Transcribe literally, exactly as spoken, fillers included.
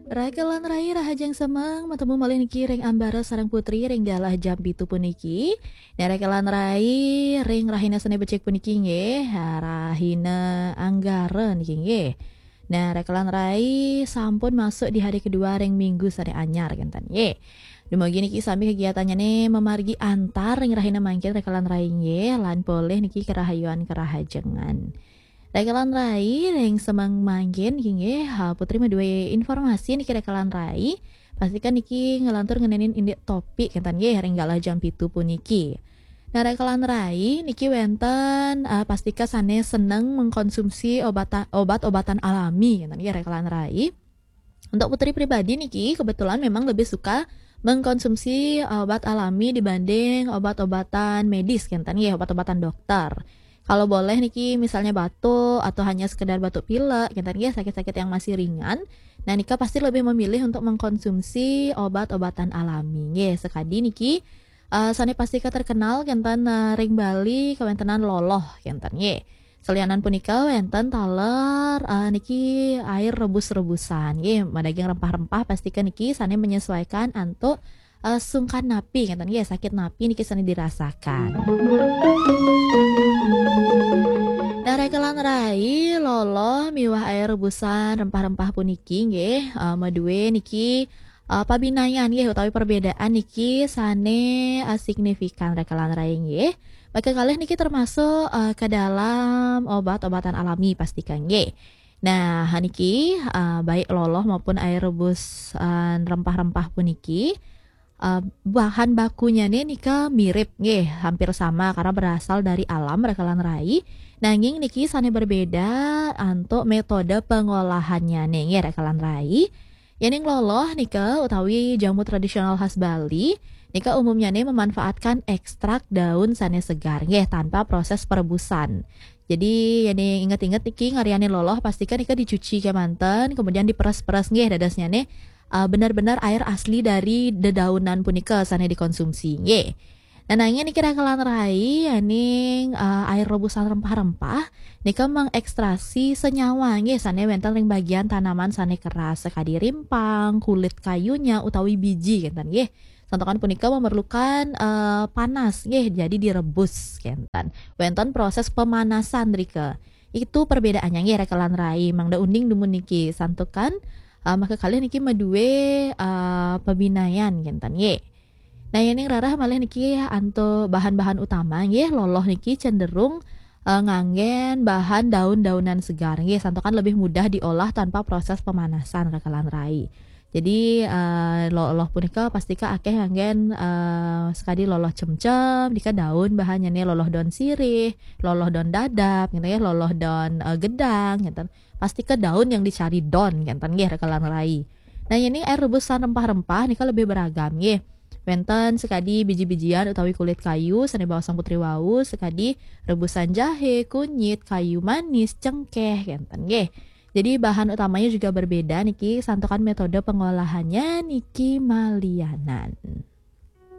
Rakelan rai rahajeng semeng, matemu malih niki ring Ambara sareng Putri ring galah jam pitu puniki. Nah, rakelan rai ring rahina sane becik puniki nggih, rahina Anggara niki nggih. Nah, rakelan rai sampun masuk di hari kedua ring minggu sane anyar kenten nggih. Dumugi niki sami kegiatannyane mamargi antar ring rahina mangkin rakelan rai nggih, lan polih niki karahayuan karahajengan. Rakelan rai ring semeng mangkin nggih, ha, Putri madue informasi niki rakelan rai. Pastikan niki ngelantur ngenenin indik topik kenten nggih ring galah jam pitu puniki. Nah, rakelan rai niki wenten, eh, pastika sane seneng mengkonsumsi obata-, obat-obatan alami kenten nggih rakelan rai. Untuk Putri pribadi niki kebetulan memang lebih suka mengkonsumsi obat alami dibanding obat-obatan medis kenten nggih, obat-obatan dokter. Kalau boleh niki misalnya batuk atau hanya sekedar batuk pilek kenten nggih, sakit-sakit yang masih ringan. Nah, nika pasti lebih memilih untuk mengkonsumsi obat-obatan alami nggih. Sekadi niki, eh, sane pastika terkenal kenten, eh, ring Bali kawentenan loloh kenten nggih. Salianan punika wenten taler, eh, niki air rebus-rebusan nggih, madaging rempah-rempah pastika niki sane menyesuaikan antuk, eh, sungkan napi kenten nggih, sakit napi niki sane dirasakan. Nah, rakelan rai, loloh miwah air rebusan rempah-rempah puniki nggih, eh, madue niki, eh, pabinayan nggih utawi perbedaan niki sane, eh, signifikan rakelan rai nggih. Maka kalih niki termasuk, eh, ke dalam obat-obatan alami pastika nggih. Nah, niki, eh, baik loloh maupun air rebus, eh, rempah-rempah puniki, eh, bahan bakunyane nika mirip nggih, hampir sama karena berasal dari alam rakelan rai. Nanging niki sane berbeda antuk metode pengolahannyane nggih rakelan rai. Yening loloh nika utawi jamu tradisional khas Bali, nika umumnyane memanfaatkan ekstrak daun sane segar nggih tanpa proses perebusan. Jadi, yening inget-inget niki ngaryane loloh pastika nika dicuci kemanten, kemudian diperes-peres nggih dadosnyane, eh, benar-benar air asli dari dedaunan punika sane dikonsumsi nggih. Nah, nanging niki rakelan rai yening, eh, air rebusan rempah-rempah nika mengekstraksi senyawa nggih sane wenten ring bagian tanaman sane keras sakadi rimpang, kulit kayunya utawi biji kenten nggih. Santukan punika memerlukan, eh, panas nggih, jadi direbus kenten. Wenten proses pemanasan rika. Itu perbedaannya nggih rakelan rai, mangda uning dumun niki santukan, eh, maka kalih niki madue, eh, pabinayan kenten nggih. Nah, yening rarah malih niki antuk bahan-bahan utama nggih, loloh niki cenderung, eh, nganggen bahan daun-daunan segar nggih, santukan lebih mudah diolah tanpa proses pemanasan rakelan rai. Jadi, eh, loloh punika pastika akeh nganggen, eh, sekadi loloh cemcem, nika daun bahannyane loloh daun sirih, loloh daun dadap, gitu ya, loloh daun, eh, gedang, gitu. Pastika daun yang dicari don, kenten nggih, rakelan rai. Nah, yening air rebusan rempah-rempah nika lebih beragam nggih. Wenten sekadi biji-bijian utawi kulit kayu, sane baosang Putri wau, sekadi rebusan jahe, kunyit, kayu manis, cengkeh, kenten nggih. Jadi bahan utamanya juga berbeda niki, santukan metode pengolahannya niki malianan.